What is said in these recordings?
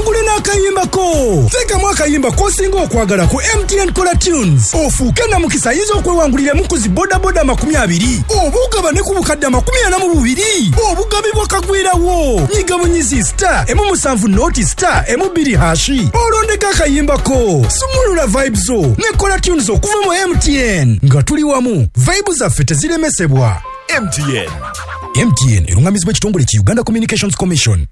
Owangule n'akayimba ko. Teekamu akayimba k'osinga okwagala ku MTN Kola Tunes. Ofuuke namukisa ayinza okwewanguliramu ku zi bodaboda 20 oba ogabane ku bukadde 42 obugabibwa kagwirawo. Nyiga bunyizi star 17 noti star 2 hash olondeko akayimba ko. Sumulula vibes zo ne Kola Tunes okuva mu MTN. Nga tuli wamu, vibe zaffe teziremesebwa. MTN. MTN erungamizibwa ekitongole ki Uganda Communications Commission.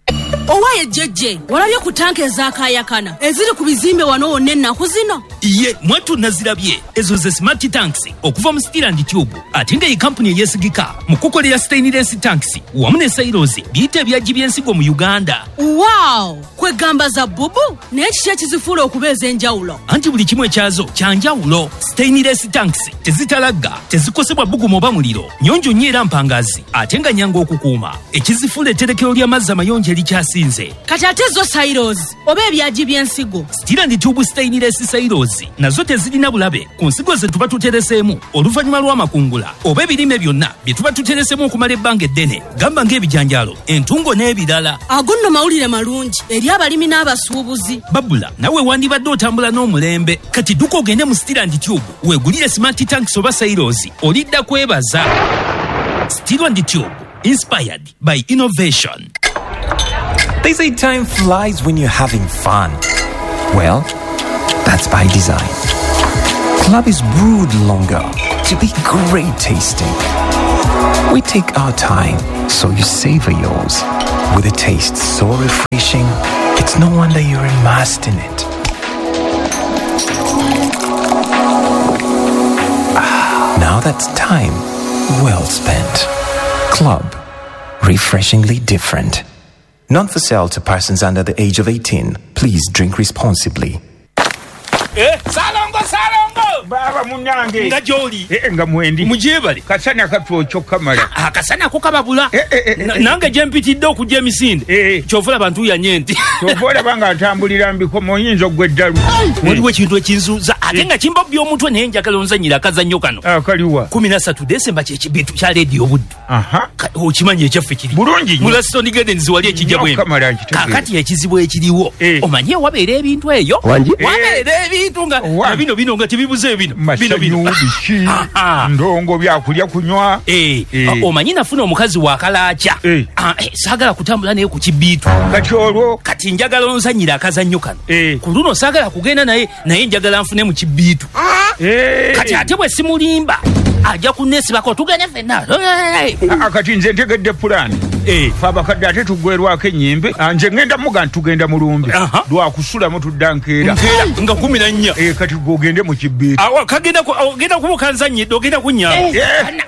Owaye jjejje, walabye ku tanka ezakayakana eziri ku bizimbe wano wonna ennaku zino? Ye mwattu, nazirabye. Ezo ze smart tanks okuva mu Steel and Tube, ate nga ye kampuni eyeesigika mu kukolera stainless tanks wamu ne silos, biyita ebyagi by'ensigo mu Uganda. Wow, kwegamba za bubu. Naye kiki ekizifuula okuba ez'enjawulo? Anti buli kimu ekyazo kyanjawulo. Stainless tanks tezitalagga, tezikosebwa bbugumu oba muliro, nyonjo nnyo era mpangazi, ate nga nyangu okukuuma. Ekizifuula etterekero ly'amazzi amayonjo erikyasinze. Kati ate zo silos oba ebyagi by'ensigo? Steel and Tube stainless silos nazo tezirina bulabe ku nsigo ze tuba tutereseemu oluvannyuma lw'amakungula oba ebirime byonna bye tuba tuteresemu okumala ebbanga eddene, gamba ng'ebijanjaalo, entungo n'ebirala. Ago nno mawulire malungi eri abalimi n'abasuubuzi. Babula nawe wandibadde otambula n'omulembe. Kati dduka ogende mu Steel and Tube weegulire smart tanks oba silos, olidda kwebaza. Steel and Tube, inspired by innovation. They say time flies when you're having fun. Well, that's by design. Club is brewed longer to be great tasting. We take our time so you savor yours. With a taste so refreshing, it's no wonder you're immersed in it. Ah, now that's time well spent. Club, refreshingly different. Not for sale to persons under the age of 18. Please drink responsibly. Salongo, Salongo! Baaba munange. Nga gy'oli? Nga mwendi. Mugyebale. Kasana katwokyo kamala. Akasana ko kababula. Nange gye mpitidde okujja emisinde, kyova olaba ntuuyanye nti. Kyova olaba nga ntambulira mbikomo, oyinza oggwa eddalu. Waliwo ekintu ekinzuuza ate nga kimbobya omutwe, naye njagala onzanyira akazannyo kano. Akaliwa? 13 Desemba kyekibitu kya Leediyo Buddu. Okimanyi ekyaffe kiri Bulungi nnyo. Mu Laston Gardens wali ekijja Nnyo bwembi. Kamala, nkitegeera. Kakati ekizibu ekiriwo, omanyi wabeera ebintu eyo, wabeera ebintu nga Wa- nga bino bino nga tebibuze bino bino bino. Masanyu biki, ndongo, byakulya, kunywa. Omanyi nafuna omukazi wakalaaca. Saagala kutambula naye ku kibiitu. Kati olwo? Kati njagala onzanyira akazannyo kano. Ku luno saagala kugenda naye, naye njagala nfune mu kibiitu. Kati ate bwe simulimba ajja kunneesibako tugende ffenna. Kati nze ntegedde pulaani. Fe abakadde ate tuggwerwako ennyimbe. Nze ngenda muga nti tugenda mulumbe lwakusulamu, tudda nkeera. Nkeera nga 14. Kati gwe ogende mu kibiitu. Awo kagenda ogenda kuba okanzanyidde, ogenda kunnyamba.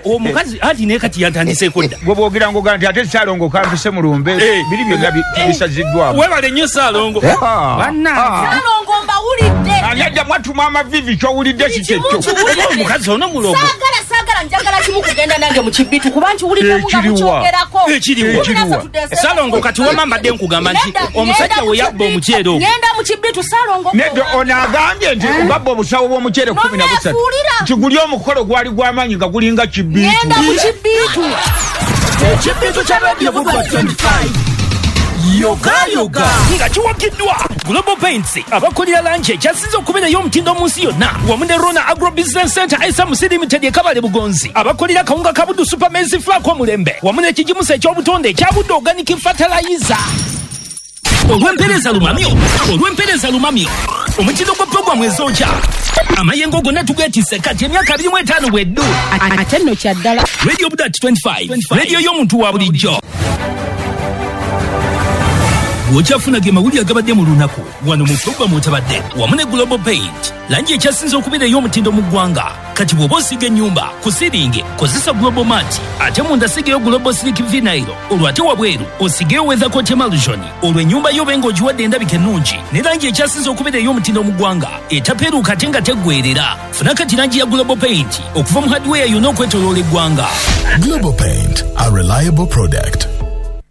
Omukazi anti naye kati yantandiseeko dda. Gwe bwogira ngoga nti ate Saalongo kampise mulumbe, biri byonna bisaziddwamu. Webale nnyo, Saalongo. Bannange. Salongo, mbawulidde. Ani ajja mwatuma amavivi? Kyowulidde kikyekyo. Kimu. Omukazi ono mulogo. Saagala, saagala, njagala kimu, kugenda nange mu kibitu, kuba nkiwuliddemu nga Ekiriwa? mukyogerako. Ekiriwa? 13 Desemba. Salongo, kati wama mbadde nkugamba nti Nedda, omusajja ngenda we mu yabba kibitu. omuceere ogwo. Ngenda mu kibitu, Salongo. Nedda, ono agambye nti babba obusawo bw'omuceere 13. Noneefuulira. Nti guli omukolo gwali gw'amaanyi nga gulinga kibiitu. Ngenda mu kibitu. Ekibitu kya Radio Buddu 25, yoga yoga. Nga kiwagiddwa Global Paints, abakolera langi ekyasinze okubeerayo omutindo mu nsi yonna, wamu ne Rona Agro Business Center SMC Limited ekabale bugonzi, abakolera kawunga ka Buddu Super Maize Flour omulembe, wamu n'ekigimusa eky'obutonde ekya Buddu Organic Fertilizer. Olw'empeereza lumamyo, olw'empeereza lumamyo, omutindo gwa puroguramu ezokya amayengo gonna tugeetisse kati emyaka 25 bweddu. Ate nno kyaddala. Radio Buddu 25, radio y'omuntu wa bulijjo. Bw'okyafuna ge mawulire agabadde mu lunaku wano mu puroguramu otabadde wamu ne Global Paint, langi ekyasinze okubeera ey'omutindo mu ggwanga. Kati bw'oba osiiga ennyumba, ku siringi kozesa Global Mat, ate munda sigeyo Global Silk Vinyl, olwo ate wabweru osigeyo Weathercoat Emulsion, olwo ennyumba yo obe ng'ogiwadde endabika ennungi ne langi ekyasinze okubeera ey'omutindo mu ggwanga, etapeeruuka ate nga teggweerera. Funa kati langi ya Global Paint okuva mu hardware yonna okwetoloola eggwanga. Global Paint, a reliable product.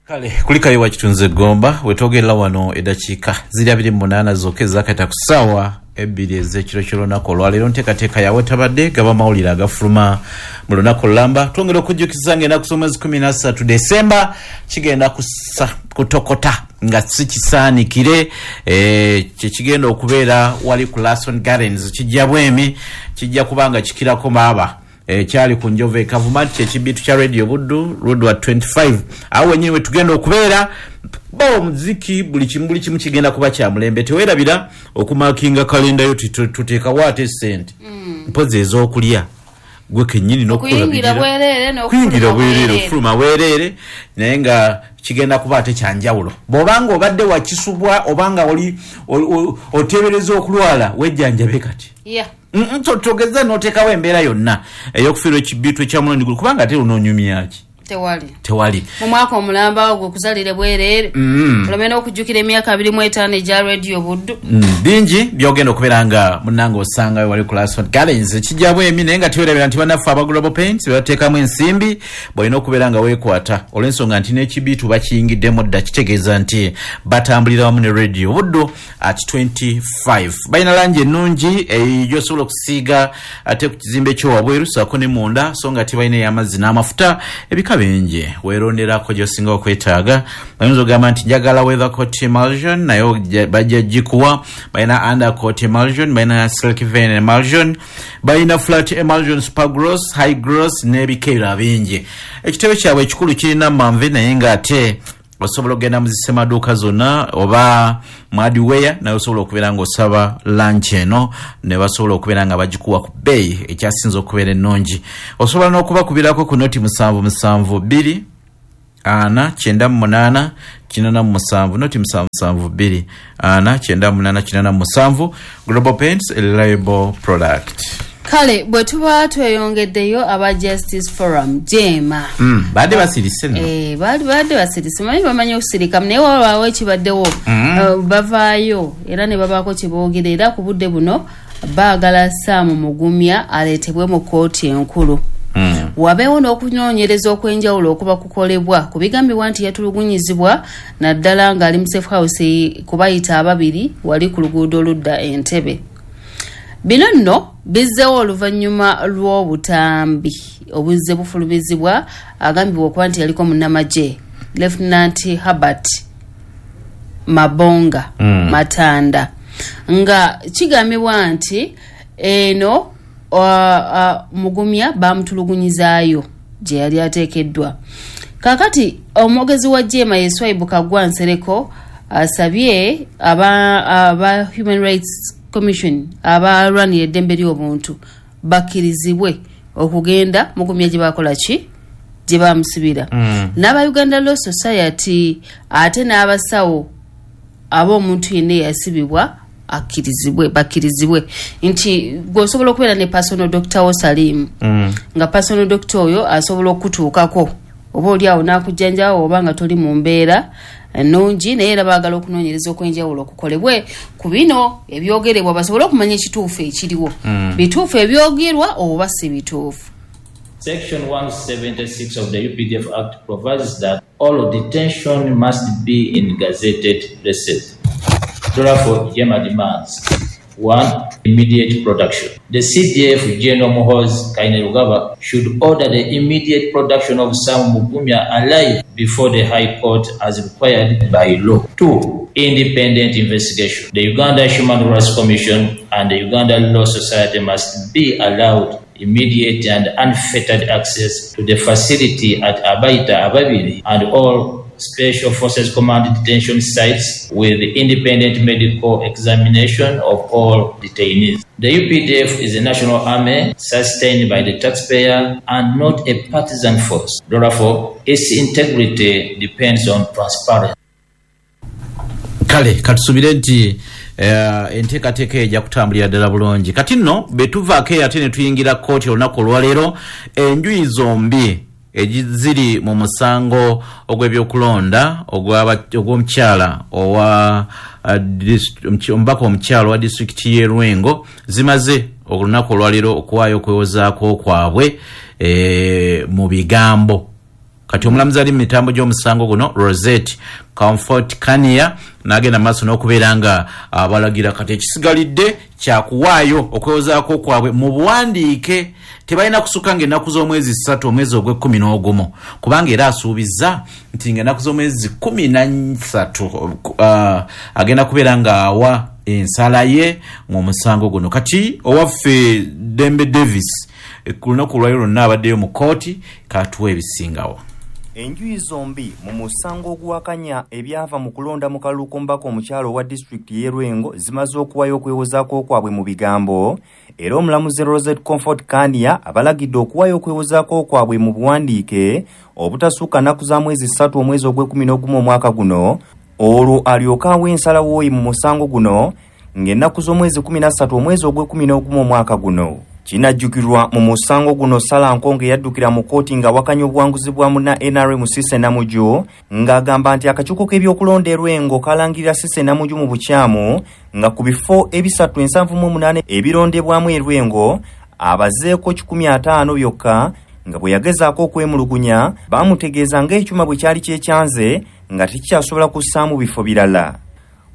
Kale kulikayo wakitunze Gomba wetwogerera wano, eddakiika ziri 28 zokka ezakata ku ssaawa 2 ez'ekiro ky'olunaku olwaleero. Nteekateeka yawe tabadde gaba mawulire agafuluma Mu lunaku lulamba twongera okujjukiza nga ennaku z'omwezi 13 Desemba kigenda kutokota nga si kisaanikire, kyekigenda okubeera wali ku Lason Gardens, kijja bwemi, kijja kubanga kikirako maaba. Kyali ku Njovu e Kavuma, kyekibitu kya Radio Buddu Road 25, awo wennyini we tugenda okubeera. Bo omuziki buli kimu kigenda kuba kya mulembe. Teweerabira okumakinga kalenda yo, tuteekawo ate sente mpozi ez'okulya gwe kennyini n'okuyingira bwereere, okufuluma bwereere, naye nga kigenda kuba ate kyanjawulo. Bw'obanga obadde wakisubwa obanga oli oteebereza okulwala, wejjanjabe kati. Togeza n'oteekawo embeera yonna ey'okufiirwa ekibitu ekyamulundi guno, kubanga ate onoonyumyaki? Tewali mu mwaka omulamba ogwo okuzalire bwereere, olome n'okujjukira emyaka 25 egya Radio Buddu. Bingi byogenda okubeera nga munnange osangayo wali ku Lason Gardens, kijja bwemi. Naye nga tewerabira nti bannaffe aba Global Paints bebateekamu ensimbi, bw'olina okubeera nga weekwata olw'ensonga nti n'ekibiitu bakiyingiddemu dda, kitegeeza nti batambulira wamu ne Radio Buddu at 25. Balina langi ennungi gy'osobola okusiiga ate ku kizimbe ky'owabweru saako ne munda, so nga tebalina ey'amazzi n'amafuta ebika bingi, weeronderako gy'osinga okwetaaga. Oyinza ogamba nti njagala weathercoat emulsion, naye bajja gikuwa. Balina undercoat emulsion, balina silk vein emulsion, balina flat emulsion, super gross, high gross n'ebika ebirala bingi. Ekitebe kyabwe ekikulu kirina Manve, naye ng'ate osobola okugenda mu zisemaduuka zonna oba mu hardware, naye osobola okubeera ng'osaba lunch eno ne basobola okubeera nga bagikuwa ku bbeeyi ekyasinza okubeera ennungi. Osobola n'okubakubirako ku noti 772 4 98 87, noti 772 4 98 87. Global Paints, a reliable product. Kale bwe tuba tweyongeddeyo, aba Justice Forum jema badde basirise nno. Badde basirise, manyi bamanyi okusirika, naye wabaawo ekibaddewo. Bavaayo era ne babaako kye boogera, era ku budde buno baagala Sam Mugumya aleetebwe mu kkooti enkulu, wabeewo n'okunoonyereza okw'enjawulo okuba kukolebwa ku bigambibwa nti yatulugunyizibwa, naddala ng'ali mu safe house kubayita ababiri wali ku luguudo oludda Entebbe. Bino nno bizzeewo oluvannyuma lw'obutambi obuzze bufulumizibwa agambibwa okuba nti yaliko munnamagye Lieutenant Herbert Mabonga Matanda, nga kigambibwa nti eno Mugumya bamutulugunyizaayo gye yali ateekeddwa. Kaakati omwogezi wa JEEMA ye Swaibu Kaggwa Nsereko asabye aba Human Rights Commission abalwanira eddembe ly'obuntu bakkirizibwe okugenda Mugumya gye bakola ki, gye bamusibira, n'aba Uganda Law Society ate n'abasawo ab'omuntu yenna eyasibibwa akkirizibwe, bakkirizibwe nti gwe osobola okubeera ne personal doctor wo Salimu, nga personal doctor oyo asobola okutuukako oba oli awo n'akujjanjawo oba nga toli mu mbeera ennungi. Naye era baagala okunoonyereza okw'enjawulo okukolebwe ku bino ebyogerebwa, basobole okumanya ekituufu ekiriwo, bituufu ebyogerwa oba si bituufu. Section 176 of the UPDF Act provides that all detention must be in gazetted places. Therefore, JEEMA demands: 1. Immediate production. The CDF General Muhoozi Kainerugaba should order the immediate production of Sam Mugumya alive before the High Court as required by law. 2. Independent investigation. The Uganda Human Rights Commission and the Uganda Law Society must be allowed immediate and unfettered access to the facility at Abaita Ababiri and all Special Forces Command detention sites with independent medical examination of all detainees. The UPDF is a national army sustained by the taxpayer and not a partisan force. Therefore, its integrity depends on transparency. Kale katusubire nti enteekateeka ejja kutambulira ddala bulungi. Kati nno betuvaako eyo ate ne tuyingira kkooti olunaku olwaleero, enjuyi zombi eziri mu musango ogw'ebyokulonda ogw'omukyala owa omubaka omukyala owa disitulikiti y'e Lwengo zimaze olunaku olwaleero okuwaayo okwewozaako kwabwe mu bigambo. Kati omulamuzi ali mu mitambo gy'omusango guno, Rosette Comfort Kania, n'agenda maaso n'okubeera nga abalagira kati ekisigalidde kyakuwaayo okwewozaako kwabwe mu buwandiike. Tebalina kusukka ng'ennaku z'omwezi 3 omwezi ogw'e11, kubanga era asuubizza nti ng'ennaku z'omwezi 13 agenda kubeera ng'awa ensala ye mu musango guno. Kati owaffe Dembe Davis ku lunaku lwayo lwonna abaddeyo mu kkooti, katuwa ebisingawo. Enjuyi zombi mu musango oguwakanya ebyava mu kulonda mu kalulu k'omubaka omukyalo owa disitulikiti y'e Lwengo zimaze okuwayo okwewozaako kwabwe mu bigambo, era omulamuzi Rosette Comfort Kania abalagidde okuwayo okwewozaako kwabwe mu buwandiike obutasukka nnaku za mwezi 3 omwezi ogw'e11 omwaka guno, olwo alyoke awe ensalawo ye mu musango guno ng'ennaku z'omwezi 13 omwezi ogw'e11 omwaka guno. Kinajjukirwa mu musango guno Sala Nkonge yaddukira mu kkooti ng'awakanya obuwanguzi bwa munna NRM Cissy Namuju, ng'agamba nti akakiiko k'ebyokulonda e Lwengo kalangirira Cissy Namuju mu bukyamu nga ku bifo 378 ebirondebwamu e Lwengo abazeeko 150 byokka, nga bwe yagezaako okwemulugunya baamutegeeza ng'ekyuma bwe kyali kyekyanze nga tekikyasobola kussaamu bifo birala.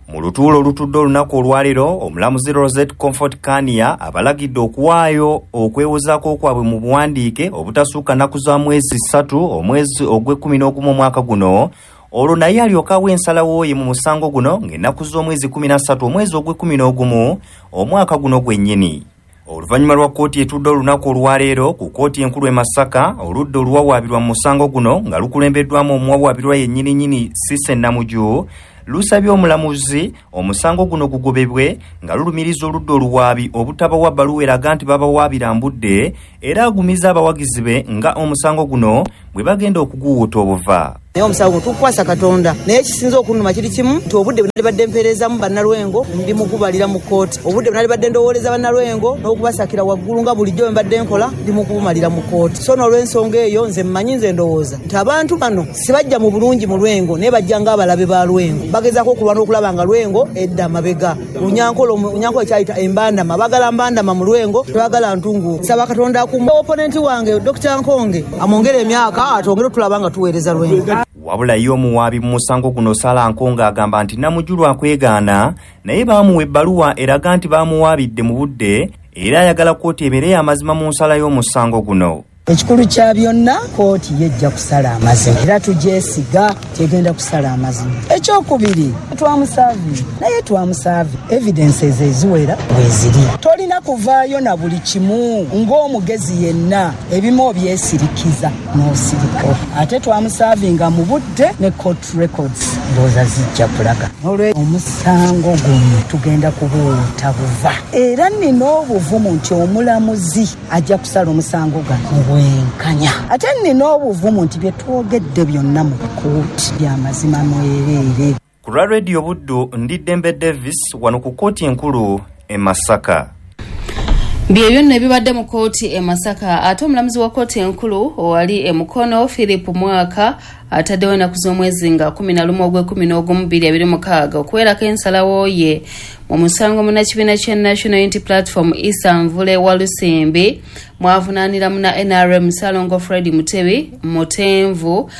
Mu lutuulo olutudde olunaku olwaleero, omulamuzi Rosette Comfort Kania abalagidde okuwaayo okwewozaako kwabwe mu buwandiike obutasukka nnaku za mwezi 3 omwezi ogw'e11 omwaka guno, olwo naye alyoke awe ensalawo ye mu musango guno ng'ennaku z'omwezi 13 omwezi ogw'e11 omwaka guno gwennyini. Oluvannyuma lwa kkooti etudde olunaku olwaleero ku kkooti enkulu e Masaka, oludda oluwawaabirwa mu musango guno nga lukulembeddwamu omuwawaabirwa yennyininyini Cissy Namuju lusabye omulamuzi omusango guno gugobebwe nga lulumiriza oludda oluwaabi obutabawa bbaluwa eraga nti babawaabira mbudde, era agumiza abawagizi be nga omusango guno bwe bagenda okuguwuuta obuva. Naye omusango tukwasa Katonda, naye ekisinza okunnuma kiri kimu nti obudde bwe nalibadde mpeerezamu bannalwengo ndi mukubalira mu kkooti, obudde bwe nalibadde ndowooleza bannalwengo n'okubasakira waggulu nga bulijjo bwe mbadde nkola ndi mukubumalira mu kkooti. So n'olw'ensonga eyo nze mmanyi, nze ndowooza nti abantu bano sibajja mu bulungi mu Lwengo, naye bajja ng'abalabe ba Lwengo, bagezaako okulwana okulaba nga Lwengo edda amabega. Lunyankole kyayita embandama, bagala mbandama mu Lwengo, tebagala ntungu. Nsaba Katonda akuume oponenti wange Dr. Nkonge, amwongere emyaka atwongere otulaba nga tuweereza Lwengo. Wabula ye omuwaabi mu musango guno Sala Nkonge agamba nti Namuju akwegaana, naye baamuwa ebbaluwa eraga nti baamuwaabidde mu budde, era ayagala kkooti ebeere y'amazima mu nsala y'omusango guno. Ekikulu kya byonna kkooti yejja kusala amazima, era tugyesiga tegenda kusala amazima. Ekyokubiri, twamusaavi, naye twamusaavi evidences eziwera bweziri. Tolina kuvaayo na buli kimu ng'omugezi yenna, ebimu obyesirikiza n'osirika. Ate twamusaavinga mu budde ne court records ndowooza zijja kulaga. Olwe omusango guno tugenda kubuwuuta buva, era nina obuvumu nti omulamuzi ajja kusala omusango gano bwenkanya. Ate nina obuvumu nti bye twogedde byonna mu kkooti by'amazima mwereere. Ku lwa Radio Buddu, ndi Dembe Davis wano ku kkooti enkulu e Masaka. Bye byonna ebibadde mu kkooti e Masaka. Ate omulamuzi wa kkooti enkulu owali e Mukono Philip Mwaka ataddewo ennaku z'omwezi nga 11 ogw'e11 2026 okuwerako ensalawo ye mu musango munnakibiina kya National Unity Platform Issa Nvule Walusimbi mwavunaanira munna NRM Ssalongo Fred Mutebi Mutenvu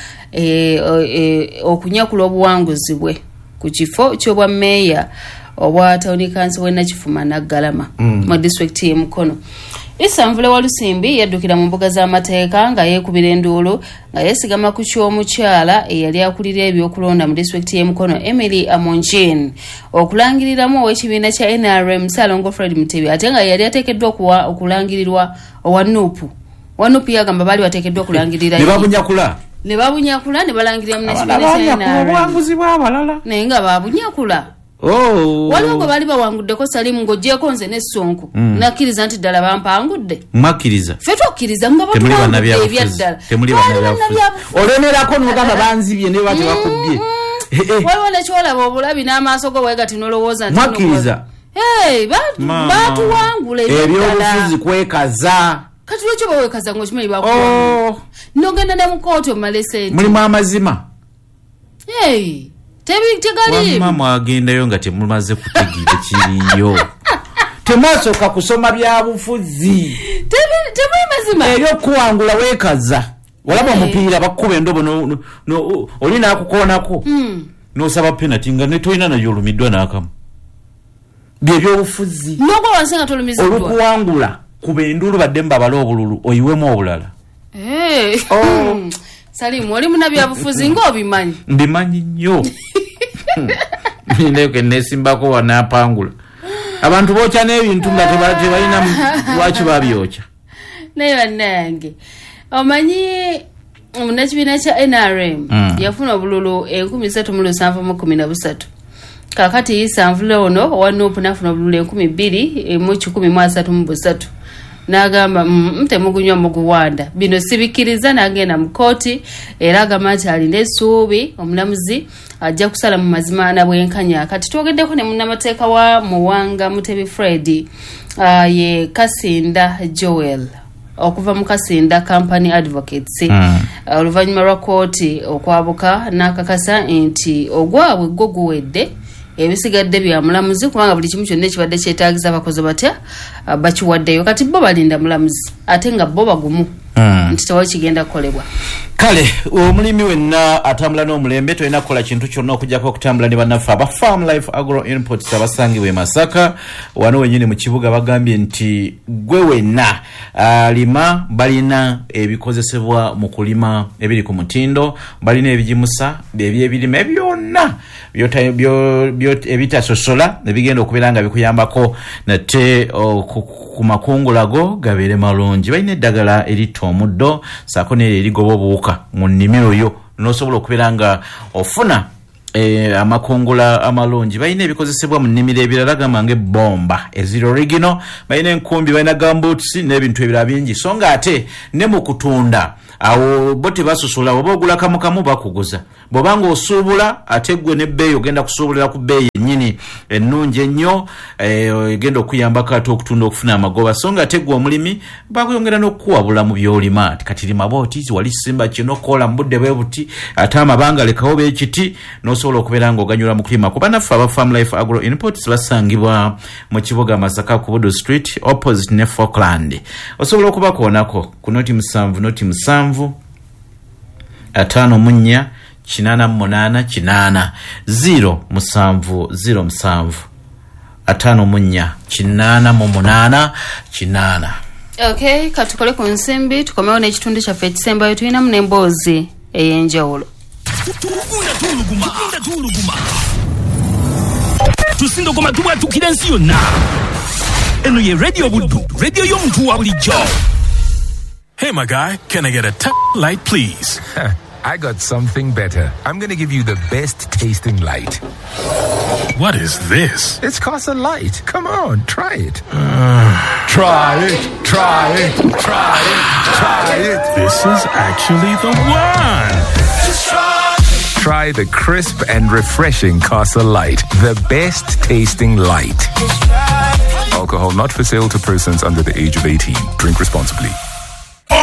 okunyakula obuwanguzi bwe ku kifo ky'obwa mmeeya obwa tawuni kanso w'e Nakifuma Naggalama mu disitulikiti y'e Mukono. Issa Nvule Walusimbi yaddukira mu mbuga z'amateeka nga yeekubira enduulu nga yeesigama ku ky'omukyala eyali akulira ebyokulonda mu disitulikiti y'e Mukono Emily Amonjin okulangiriramu ow'ekibiina kya NRM Ssalongo Fred Mutebi, ate nga yali ateekeddwa okulangirirwa owa NUP. Owa NUP yagamba baali bateekeddwa okulangirira ne babunyakula, ne babunyakula ne balangirira munnakibiina kya NRM obuwanguzi bw'abalala, naye nga babunyakula. Waliwo gwe baali bawanguddeko Salimu ng'oggyeko nze n'essonko, nakkiriza nti ddala bampangudde. Mwakkiriza? Ffe twakkiriza nga batuwangudde ebyaddala. Temuli bannabyabufuzi. Olemerako n'ogamba banzibye ne baba tebakubbye. Waliwo nekyolaba obulabi n'amaaso go bwe gati n'olowooza nti mwakkiriza. Baatuwangula ebyobufuzi kwekaza. Kati lwaki oba weekaza ng'okimanyi bakuwangula? N'ogenda ne mu kkooti omale ssente. Mulimu amazima. Tegali. Wamma mwagendayo nga temumaze kutegeera kiriyo. Temwasooka kusoma byabufuzi. Temuli mazima. Ebyokuwangula weekaza. Walaba omupiira bakuba endobo oli n'akukoonako n'osaba penalty nga ne tolina nayo olumiddwa n'akamu. Byebyobufuzi. N'ogwa wansi nga tolumiziddwa. Olukuwangula kuba enduulu badde mbabale obululu oyiwemu obulala. Salimu oli munnabyabufuzi ng'obimanyi. Mbimanyi nnyo. Ndeke nesimbako wanaapangula. Abantu bookya n'ebintu nga tebalina lwaki babyokya. Naye bannange omanyi munnakibiina kya NRM yafuna obululu 3713. Kaakati Isanvule ono owa NUP n'afuna obululu 2133. N'agamba temugunywa muguwanda bino sibikkiriza, n'agenda mu kkooti era agamba nti alina essuubi omulamuzi ajja kusala mu mazima na bwenkanya. Kati twogeddeko ne munnamateeka wa Muwanga Mutebi Fred ye Kasinda Joel okuva mu Kasinda Company Advocates oluvannyuma lwa kkooti okwabuka n'akakasa nti ogwabwe gwo guwedde, ebisigadde bya mulamuzi kubanga buli kimu kyonna ekibadde kyetaagisa bakoze batya bakiwaddeyo. Kati bo balinda mulamuzi ate nga bo bagumu nti tewali kigenda kukolebwa. Kale omulimi wenna atambula n'omulembe tolina kukola kintu kyonna okuggyako okutambula ne bannaffe aba Farm Life Agro Inputs abasangibwa e Masaka wano wennyini mu kibuga. Bagambye nti gwe wenna alima balina ebikozesebwa mu kulima ebiri ku mutindo, balina ebigimusa ebyebirime byonna ebitasosola ebigenda okubeera nga bikuyambako nate ku makungula go gabeere malungi. Balina eddagala eritta omuddo saako n'eryo erigoba obuwuka mu nnimiro yo n'osobola okubeera nga ofuna amakungula amalungi. Balina ebikozesebwa mu nnimiro ebirala gamba ng'ebbomba eziri original, balina enkumbi, balina gumboots n'ebintu ebirala bingi. So nga ate ne mu kutunda awo bo tebasosola, oba ogula kamu kamu bakuguza, bw'oba ng'osuubula ate ggwe n'ebbeeyi ogenda kusuubulira ku bbeeyi ennyini ennungi ennyo egenda okuyambako ate okutunda okufuna amagoba. So nga ate ggwe omulimi bakuyongera n'okukuwabula mu by'olima nti kati lima bw'oti, wali simba kino, kola mu budde bwe buti, ate amabanga lekawo b'ekiti n'osobola okubeera ng'oganyulwa mu kulima. Ku bannaffe aba Farm Life Agro Inputs basangibwa mu kibuga Masaka ku Budu Street opposite ne Falkland. Osobola okubakoonako ku 07 07 54 88 8 0 7 0 7 54 88 8. Okay, katukole ku nsimbi tukomewo n'ekitundu kyaffe ekisembayo tulinamu n'emboozi ey'enjawulo. Tusindogoma tubwatukira ensi yonna. Eno ye Radio Buddu, radio y'omuntu wa bulijjo. Hey, my guy, can I get a light, please? I got something better. I'm going to give you the best tasting light. What is this? It's Casa Light. Come on, try it. Try it, try it, try it, try it. This is actually the one. Just try it. Try the crisp and refreshing Casa Light, the best tasting light. Alcohol not for sale to persons under the age of 18. Drink responsibly.